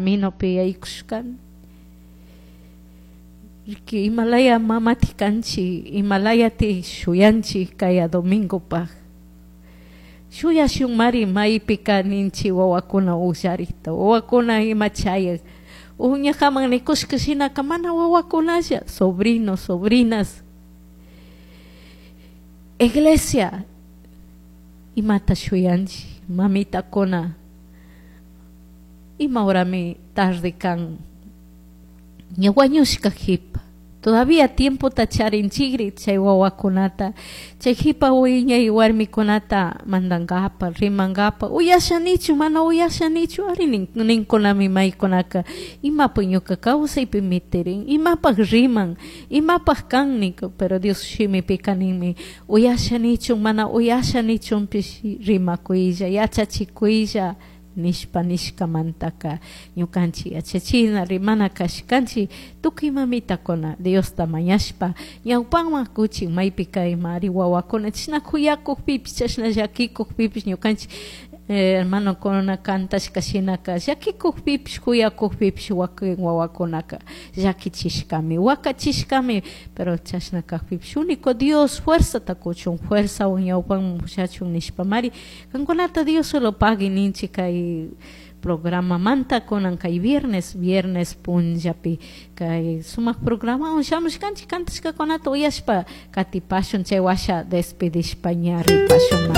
Caminopi yaykushkani. Riki imalaya mamati kanchik, imalayati shuyanchik kaya domingopaj. Shuyashunmari maypika ninchik wawakuna ukllarikta, wawakuna ima chayak. Uñajaman nikushka shinaka mana wawakunalla, sobrinos, sobrinas. Iglesia, imata shuyanchik, mamitakuna, ima horami tarde kan, ña wañushka jipa. Todavía tiempota charinchikri chay wawakunata, chay jipa wiñay warmikunata mandankapa, rimankapa, uyashanichu, mana uyashanichu, ari ninkunami maykunaka, imapaq ñuka kawsaypi mitirin, imapaq riman, imapaq kan ninku, pero Dios shimipika ninmi, uyashanichu, mana uyashanichunpish rimakuylla, yachachikuylla, nishpa nishkamantaka ñukanchik yachachina rimana kashkanchik tukuy mamitakuna Diosta mañashpa ñawpanman kuchin maypika ima ari wawakuna chashna kuyakukpipish chashna llakikukpipish ñukanchik hermanokuna kantashka shinaka llakikukpipish kuyakukpipish wakin wawakunaka llakichishkami wakachishkami, pero chashna kakpipish único Dios fuerzata kuchun, fuerzawan ñawpanman pushachun nishpamari kankunata Dios solo pagui ninchik kay programamanta kunan kay viernes, viernes punllapi kay sumak programawan shamushkanchik kantashkakunata uyashpa katipashun chay washa despedishpa ña ripashun.